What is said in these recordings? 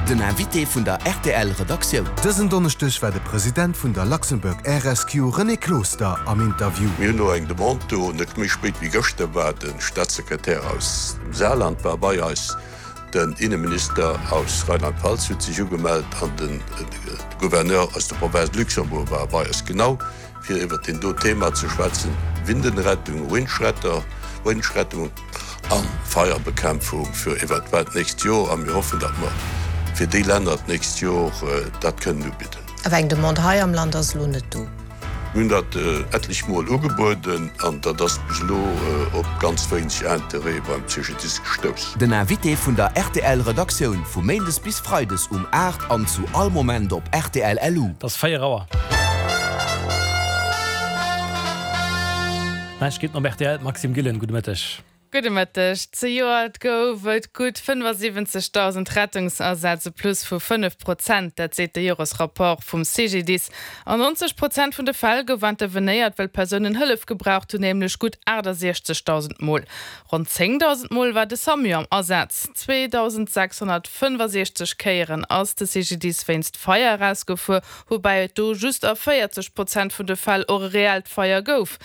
Den Invité vun der rtl Redaktioun. Dësen Donneschdeg war de President vun der Luxembourg Air Rescue René Closter am Interview. Mir hunn elo eng Demande do, net méi spéit wéi gëschter war de Staatssekretär aus dem Saarland war bei eis, den Inneminister aus Rheinland-Pfalz huet sech ugemellt an de Gouverneur aus der Province Luxembourg war bei eis, genau fir iwwert deen do Thema ze schwätzen, Windenrettung, Windschretter, Windschrettung a Feierbekämpfung fir eventuell d'nächst Jor. A mir hoffen, datt mer fir déi Länner d'nächst Jor dat kënnen ubidden. Awer eng Demande hei am Land ass elo net do. Mir hunn dat etlech Mol ugebueden an dat ass bis elo op ganz wéineg Interêt beim CGDIS gestouss. Den Invité vun der rtl Redaktioun vu Méindes bis Freides um 8 an zu all Moment op rtl LU. Et ass 4 Auer. Neiegkeeten op rtl, d'Maxime Gillen, gudde Mëtteg. Gudde Mëtteg. Zejoert gouf et gutt 75.000 Rettungsasätz, e Plus vu 5 Prozent. Dat seet de Joresrapport vum CGDIS. An 90 Prozent vun de Fäll gouf intervenéiert, well Persounen Hëllef gebraucht hunn, nämlech gutt 68.000 Mol. Ronn 10.000 Mol war de Samu am Asaz. 2.665 Kéieren ass de CGDIS wéinst Feier erausgefuer, woubäi et do just a 40 Prozent vun de Fäll och e reellt Feier gouf.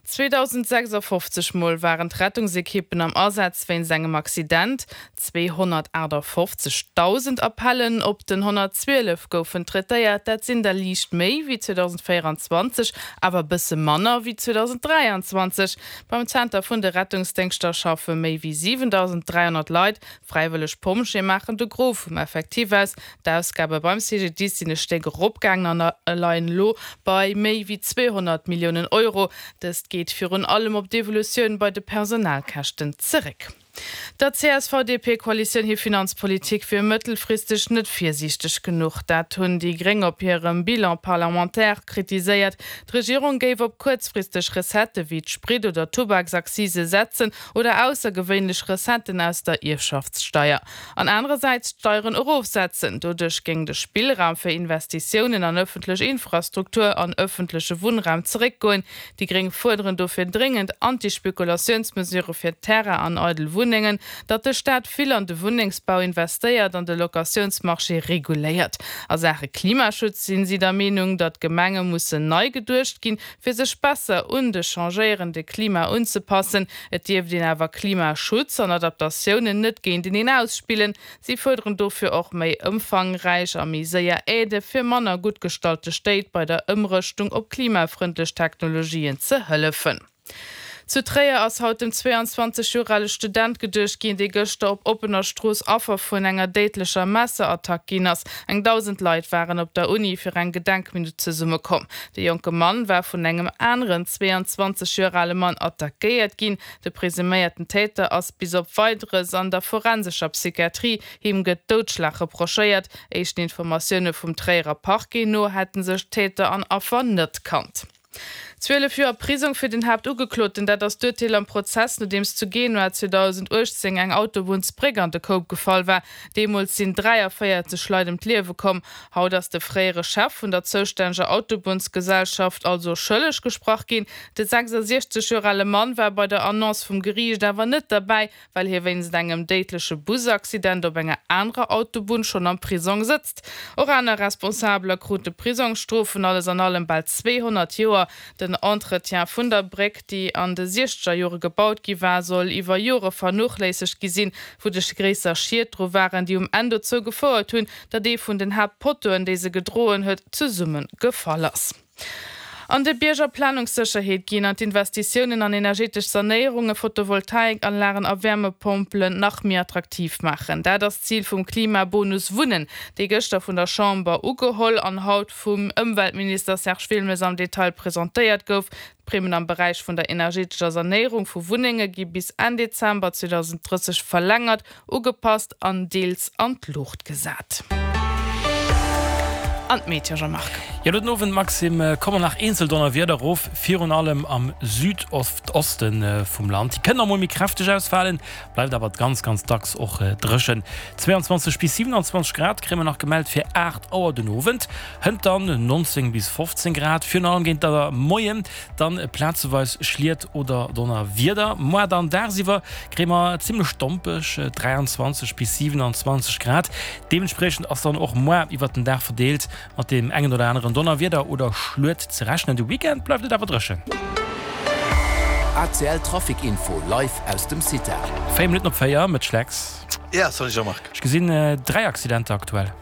2.056 Mol waren d'Rettungsekippen am Asaz wéinst engem Accident, 258.000 Appellen op den 112 goufen traitéiert, dat sinn der liicht méi wéi 2024, awer e bësse manner wéi 2023. Beim Zenter vun de Rettungsdéngschter schaffe méi wéi 7.300 Leit. Fräiwëlleg Pompjeeë maachen de Gros vum Effectif aus. D'Ausgabe beim CGDIS sinn e Stéck eropgaangen an leien elo bei méi wéi 200 Milliounen Euro. Dëst geet virun allem op d'Evolutioun bei de Personalkäschten zeréck. Der CSV-DP-Koalitioun hir Finanzpolitik wier mëttelfristeg net virsiichteg genuch. Dat hunn déi Gréng op hirem Bilan parlementaire kritiséiert. D'Regierung géif op kuerzfristeg Recettë wéi d'Sprit oder Tubaksaccise setzen oder aussergewéinlech Recetten aus der Ierfschaftssteier. An anerersäits d'Steieren erofsetzen. Doduerch géing de Spillraum fir Investitiounen an ëffentlech Infrastruktur an ëffentleche Wunnraum zeréckgoen. Déi Gréng fuerderen dofir dréngend Anti-Spekulatiounsmesure fir Terrain an eidel Wunnengen, datt de Staat vill an de Wunnengsbau investéiert an de Locatiounsmarché reguléiert. A Saache Klimaschutz sinn si der Meenung, datt d'Gemenge mussen nei geduecht ginn, fir sech besser un de changéierende Klima unzepassen. Et dierft een awer Klimaschutz an Adaptatiounen net géinteneen ausspillen. Si fuerderen dofir och méi ëmfangräich a méi séier Aidë fir manner gutt gestallte Stéit bei der Ëmrëschtung op klimafrëndlech Technologien ze hëllefen. Zu Tréier ass haut dem 22 Joer ale Student geduecht ginn, dee gëschter op oppener Strooss Affer vun enger déidlecher Messerattack ginn ass. Eng 1.000 Leit waren op der Uni fir eng Gedenkminutt zesummekomm. De jonke Mann war vun engem aneren 22 Joer ale Mann attackéiert ginn. De presuméierten Täter ass bis op Weideres an der forensescher Psychiatrie. Him gëtt Doudschlag reprochéiert. Éischten Informatioune vum Tréierer Parquet no hätte sech Täter an Affer net kannt. 12 Joer Prisong fir den Haaptugekloten, dat ass d'Urteel am Prozess, nodeems zu Genua 2018 eng Autobunnsbréck an de Koup gefall war. Deemools sinn 43 Leit ëm d'Liewe komm. Haut ass de fréiere Chef vun der zoustänneger Autobunnsgesellschaft also schëlleg gesprach ginn. De 66 Joer ale Mann war bei der Annonce vum Geriicht awer net derbäi, well hie wéinst engem déidleche Busaccident op enger anerer Autobunn schonn am Prisong sëtzt. Och aner Responsabeler krute Prisongsstrofen, alles an allem bal 200 Joer. Den Entretien vun der Bréck, déi an de siechzeger Jore gebaut gi war, soll iwwer Jore vernochléissegt gi sinn, wouduerch gréisser Schied dru waren, déi um Enn dozou gefouert hunn, datt ee vun den Haaptpottoen, déi se gedroen huet, zesumme gefall ass. An de Bierger Planungssécherheet ginn an d'Investitiounen an energetesch Sanéierungen, Photovoltaikanlagen a Wärmepompelen nach méi attraktiv maachen. Dat ass d'Zil vum Klimabonus Wunnen, dee gëschter vun der Chamber ugeholl an haut vum Ëmweltminister Serge Wilmes am Detail presentéiert gouf. D'Primmen am Beräich vun der energetescher Sanéierung vu Wunnenge gi bis Enn Dezember 2030 verlängert. Ugepasst an deels an d'Luucht gesat. An d'Meteo, Jean-Marc. Jo, den Owend, Maxime, kommen nach eenzel Donnerwieder erof, virun allem am Südoste vum Land. Déi kënnen och mol méi kräfteg ausfalen, bleift awer ganz, ganz dacks och dréchen. 22 bis 27 Grad kréie mer nach gemellt fir 8 Auer den Owend, hënt dann 19 bis 15 Grad, virun allem géint der Moien dann plazeweis Schliet oder Donnerwieder. Moar dann dagsiwwer kréie mer zimmlech dompeg 23 bis 27 Grad. Deementspriechend ass dann och moar iwwert den Dag verdeelt mat deem engen oder aneren Donnerwieder oder Schluet ze rechnen. De Weekend bleift et awer dréchen. ACL Trafic Info live aus dem CITA. 4 Minutten op 4, Mëtt Schlecks. Ja, salut Jean-Marc. Ech gesinn 3 Accidenter aktuell.